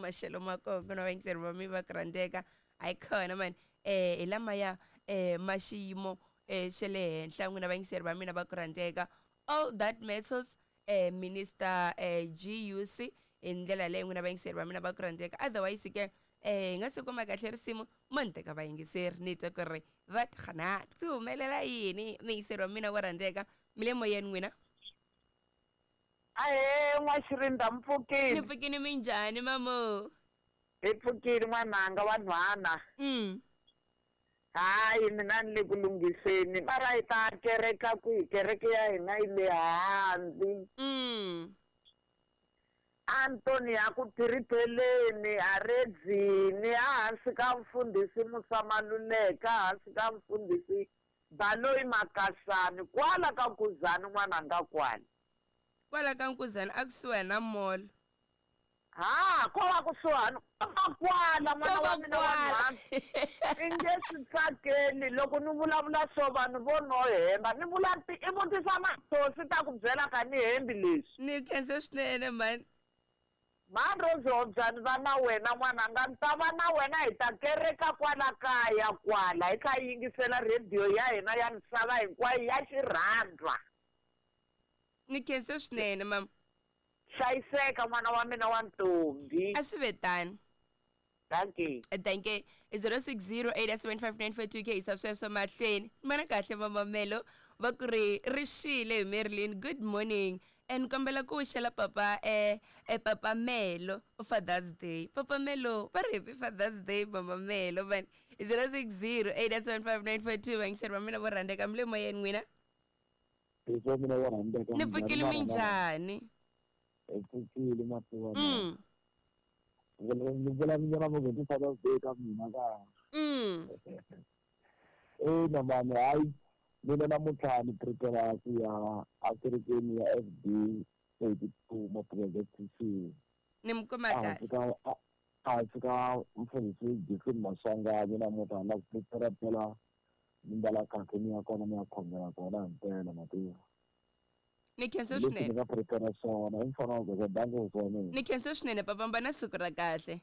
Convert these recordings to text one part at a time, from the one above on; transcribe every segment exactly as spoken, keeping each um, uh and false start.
Maxelo ma kona ku na vayingiseri va mi va ku rhandzeka a yi kona mani eh hi lamaya eh ma xiyimo eh xa le henhla n'wina vayingiseri va mina va ku rhandzeka. All that matters eh minister eh G U C hi ndlela leyi n'wina vayingiseri va mina va ku rhandzeka. Otherwise ke eh hi nga se kuma kahle risimu mo ni teka vayingiseri ni twa ku ri va xana ti humelela yini muyingiseri wa mina wa rhandzeka mi le moyeni n'wina. Ahe n'waxirinda mpfukile. Ni pfukile minjhani mamo? Hi pfukile n'wananga wa nhwana. Mm. Hayi mina ni le ku lunghiseni mara hi ta kereka kwihi kereke ya hina yi le hansi. Mm. Antoni ya ku phiripheleni a redzini ehansi ka mfundhisi Musa Maluleka hansi ka mfundhisi Baloyi Makasani kwala ka Nkuzani n'wananga kwala. Kwala ka Nkuzani a kusuhi na mall. Ha ko va kusuhani kwala n'wana wa mina wa nhwana. I nge swi tsakeli loko ni vulavula swo vanhu vo no hemba ni vula i vutisa matosi ta ku byela ka ni hembi leswi. Ni khensa swinene mani. Mani Rose Hobyani va na wena n'wananga ni ta va na wena hi ta kereka kwala kaya kwala hi kha yingisela rhediyo ya hina ya misava hinkwayo ya xirhandwa. Ni khensa swinene mama. Hlayiseka n'wana wa mina wa ntombi. A swi ve tano. Thank you. Thank you. zero six zero eight seven five nine four two K isa sweswo mahlweni. Mana kahle mama Melo va ku ri ri xile hi Marilyn. Good morning. And kombela ku wixela papa eh eh papa Melo Father's Day. Papa Melo va ri happy Father's Day mama Melo van zero six zero eight seven five nine four two vayingiseri va mina vo rhandzeka mi le moyeni n'wina. Ni pfukile minjhani? Hi pfukile mativa. Mm. Ni vula mina mo ku Father's Day ka mina ka. Mm. Eh na mani hayi mina namuntlha ni prepare ku ya a kerekeni ya F D eighty-two ma-project C. Ni mi kuma kahle. A fika mfundhisi Giffen Maswanganyi namuntlha na ku prepare phela ni mbala kahle ni ya kona ni ya khongela kona himpela mativa. Ni khensa swinene. Ni nga prepare swona hi mfana wa ku danke swona. Ni khensa swinene papa mba na siku ra kahle.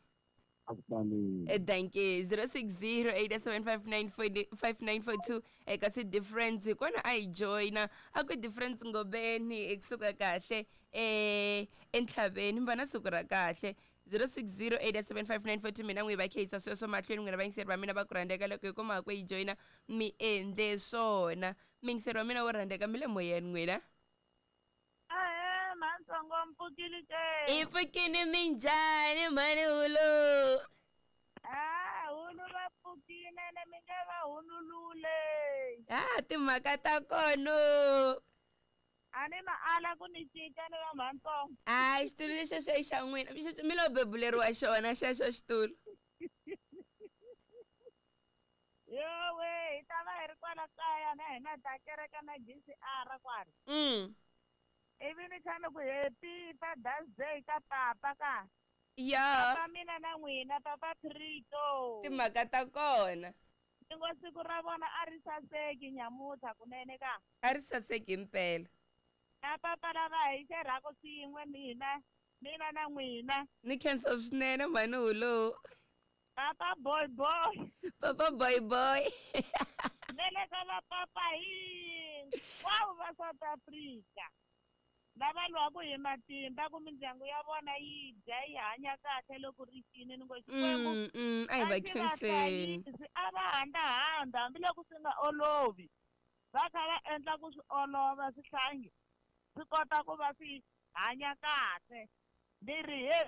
Akutani. Thank you. zero six zero eight seven five nine four five nine four two eka si difference kona a yi joina a ku difference ngobeni ekusuka kahle eh entlhaveni mba na siku ra kahle zero six zero eight seven five nine four two mina n'wi va kheyisa sweswo mahlweni n'wina vayingiseri va mina va ku rhandzeka loko hi kuma ku yi joina mi endle swona miyingiseri wa mina wo rhandzeka mi le moyeni n'wina. Ahe mantsongo mpfukile ke. I pfukile minjhani mhani Hulu? Ah Hulu va pfukile na mi nge va hunulule. Ah timhaka ta kona. A ni ma ala ku ni cinca ni va mhantsongo. Hayi xitulu lexi xo i xa n'wina mi lo bebuleriwa xona xexo xitulu. Yowe hi ta va hi ri kwala kaya na hina ta kereka na G C R kwala. Mm. Ivi ni tshame ku happy Father's Day ka papa ka. Ya. Papa mina na n'wina papa Prito. Timhaka ta kona. Ni ngo siku ra vona a ri saseki nyamuntlha kunene ka. A ri saseki impela. Na papa lava hi xerhaka swin'we mina mina na n'wina. Ni khensa swinene mhani Hulu. Papa boy boy. Papa boy boy. Ne le ka va papa hinkwavo va South Africa. Lava lwaku hi matimba ku mindyangu ya vona yi dya yi hanya kahle loko ri xini ni ngo Xikwembu a hi va khenseni a va handzahanda hambiloko swi nga olovi va kha va endla ku swi olova swihlangi swi kota ku va swi hanya kahle ni ri he.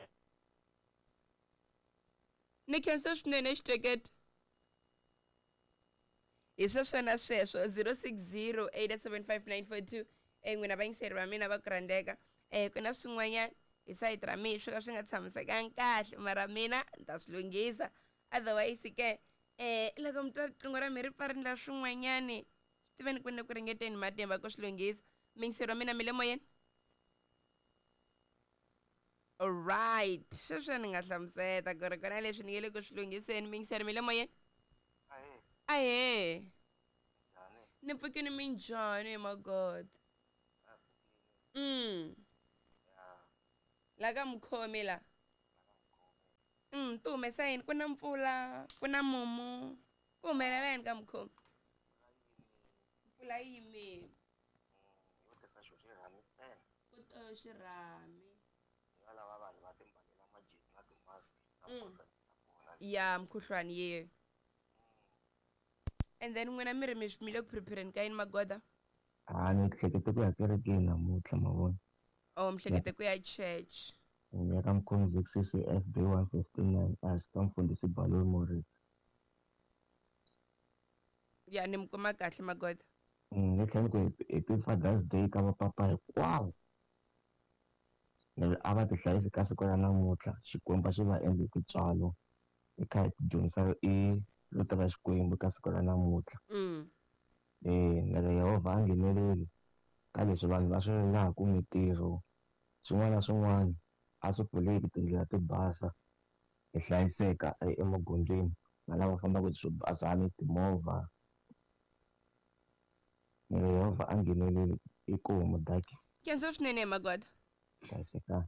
Ni khensa swinene xitekete. Hi sweswo na sweswo zero six zero eight seven five nine four two eh n'wina vayingiseri va mina va ku rhandzeka eh ku na swin'wanyana hi sayiti ra mina swo ka swi nga tshamisekanga kahle mara mina ni ta swi lunghisa otherwise ke eh loko mi twa riqingho ra mi ri pfa ri ndla swin'wanyani swi tiveni ku ni ku ringeteni matimba ku swi lunghisa. Miyingiseri wa mina mi le moyeni. Alright, sweswo ni nga hlamuseta ku ri kona leswi ni nge le ku swi lunghiseni. Miyingiseri mi le moyeni. Ahee. Ahee. Ni pfukile minjhani my God. Mm. Ya. La ka mukhomi la. Tihomu ti humesa yini? Ku na mpfula, ku na mumu, ku humelela yini ka mukhomi? Mpfula yi yimile. Yo tisa xo xirhami ntsena. Ku to xirhami. Hi lava vanhu va timbalela majezi na ti-mask na Mm. mukhuhlwani ta kona. Ya mukhuhlwani ye. And then n'wina mi ri mi mi le ku prepareni ka yini magoda? A ni hlekete ku ya kerekeni namuntlha ma vona. Oh, mi hlekete ku ya church. Ni ya ka mukhomi Z C C F B one fifty nine as ka mfundhisi Baloi Morris. Ya ni mi kuma kahle magoda. Ni tlhela ni ku happy Father's Day ka vapapa hinkwavo. Ni ri a va ti hlayisi ka siku ra namuntlha, Xikwembu a xi va endli tintswalo hi kha hi dyondzisa i rito ra Xikwembu ka siku ra namuntlha. Mm. Eh, ni ri Yehovha a ngheneleli ka leswi vanhu va swi rilaka, mintirho, swin'wana na swin'wana a swi pfuleki, tindlela ti basa, hi hlayiseka emagondzweni na lava fambaka hi swibazana, timovha. Ni ri Yehovha a ngheneleli. Inkomu, dankie. Khensa swinene magoda. Hlayisekani.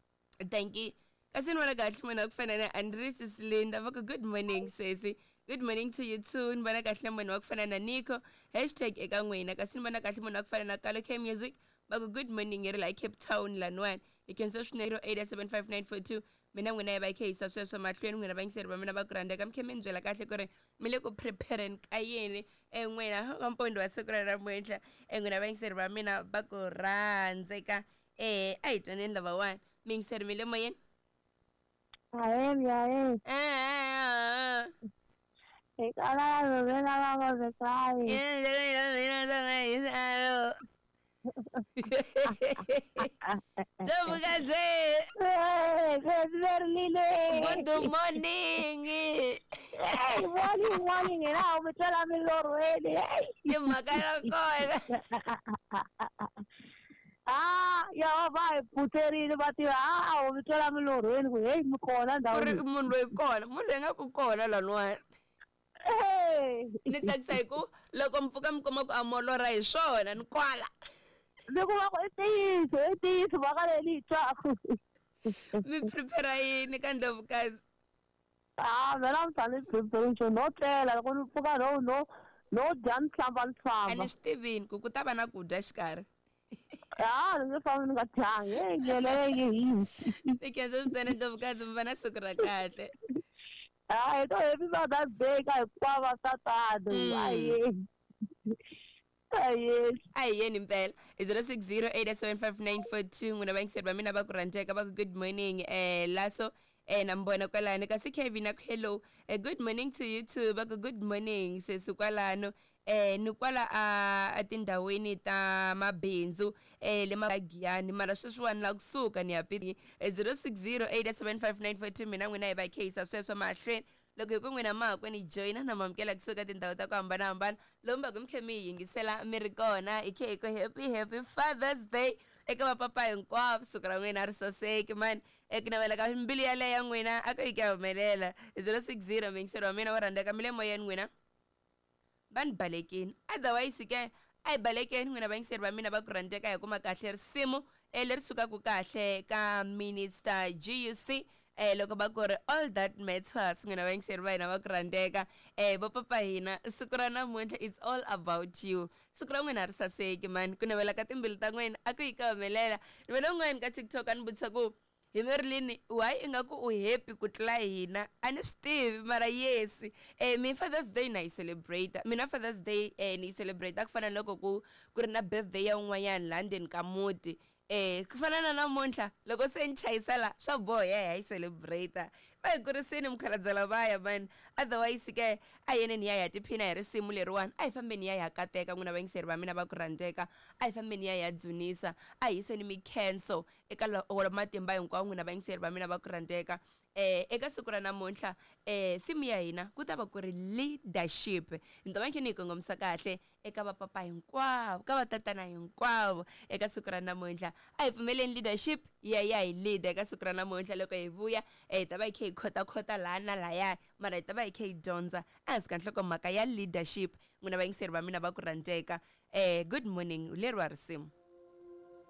Thank you. Kasi ni vona kahle munhu wa ku fana na Andres Silinda va ku good morning sesi. Good morning to you too. Ni vona kahle munhu wa ku fana na Nico. Hashtag eka n'wina. Kasi ni vona kahle munhu wa ku fana na Kalo K Music. Va ku good morning hi ri la Cape Town laniwani. Hi khensa swinene zero eight seven five nine four two. Mina n'wina hi va hi kha hi yisa sweswo mahlweni, n'wina vayingiseri va mina va ku rhandzeka, mi khe mi ni byela kahle ku ri mi le ku prepareni ka yini en'wina ka mpondo wa siku ra namuntlha, en'wina vayingiseri va mina va ku rhandzeka. Eh, a hi twaneni lavawani. Miyingiseri, mi le moyeni? Ahee, ahee. Eh, Hi kala rhumela va ngomekani. Ndlovukazi. Good good morning. Hey, morning, morning. Hina u mi twela milorhweni. Hey. Timhaka ta kona. Ah, Yehovha hi pfutserile va tiva. Ah, u mi twela milorhweni ku hey mi kona Ku ri ndhawini. munhu loyi kona, munhu loyi nga ku kona laniwani. Hey. Ni tsakisa hi ku loko mi pfuka mi kuma ku a molora hi swona ni kwala. Ni kuma ku i ntiyiso, i ntiyiso mhaka leyi ni yi twaku. Mi prepare yini ka Ndlovukazi? Ah, mina namuntlha ni prepare nchumu, no tlela loko ni pfuka no no no dya, ni hlamba, ni A famba. ni swi tivini ku ku ta va na ku dya xikarhi. Ah, ni nge fambi ni nga dyangi. Hey, nyele yi hisi. Ni khensa swinene Ndlovukazi, mi va na siku ra kahle. Ah, hi to happy Mother's Day ka hinkwavo tatana. Mm. Aye. Aye. A hi yeni mpela hi zero six zero eight seven five nine four two, n'wina vayingiseri va mina va ku rhandzeka. Va ku good morning eh laso eh na mi vona kwalano. Kasi Kevin a ku hello, eh, good morning to you too. Va ku good morning sesi kwalano, eh ni kwala a etindhawini ta mabindzu eh le magiyani, mara sweswiwani la kusuka ni ya pi zero six zero eight seven five nine four two. Mina n'wina hi va kha yisa sweswo mahlweni loko hi ku n'wina mahakwe ni joyina na mamukela kusuka tindhawu ta ku hambanahambana lomu va ku mi khe mi hi yingisela mi ri kona. Hi khe hi ku happy happy Father's Day eka vapapa hinkwavo. Siku ra n'wina ri saseki mani. Eku navela ka mbilu yaleyo ya n'wina a ku yi ka humelela. Zero six zero, miyingiseri wa mina wo rhandzeka, mi le moyeni n'wina. Va ni balekini, otherwise ke a hi balekeni, n'wina vayingiseri va mina va ku rhandzeka. Hi kuma kahle risimu eh, leri sukaka kahle ka Minister G U C eh loko va ku ri "All That Matters". N'wina vayingiseri va hina va ku rhandzeka, eh vopapa hina, siku ra namuntlha it's all about you. Siku ra n'wina ri saseki mani. Ku navela ka timbilu ta n'wina a ku yi ka humelela. Ni vona un'wana ka TikTok a ni vutisa ku hi Marilyn, why ingaku u happy ku tlula hina? A ni swi tivi, mara yes, eh mi Father's Day na yi celebrate. Mina Father's Day eh ni yi celebrate ku fana na loko ku ku ri na birthday ya un'wanyana laha ndzeni ka muti, eh ku fana na namuntlha loko se ni chayisa la swa boha ya hi celebrate. Va hi kurisini mukhalabye lavaya mani. Otherwise ke a yeneni ya hi ya tiphina hi risimu leriwani. A hi fambeni ya hi ya kateka, n'wina vayingiseri va mina va ku rhandzeka. A hi fambeni ya hi ya dzunisa, a hi yiseni mikhenso eka wa matimba hinkwawo, n'wina vayingiseri va mina va ku rhandzeka. eh eka siku ra namuntlha eh theme ya hina ku ta va ku ri leadership. Ni ta va khe ni yi kongomisa kahle eka vapapa hinkwavo, ka vatatana hinkwavo eka siku ra namuntlha. A hi pfumeleni leadership ya ya hi leader eka siku ra namuntlha. Loko hi vuya eh hi ta va hi kha hi khotakhota laha na lahaya, mara hi ta va hi kha hi dyondza ehansi ka nhlokomhaka ya leadership, n'wina vayingiseri va mina va ku rhandzeka. eh good morning, leriwa risimu.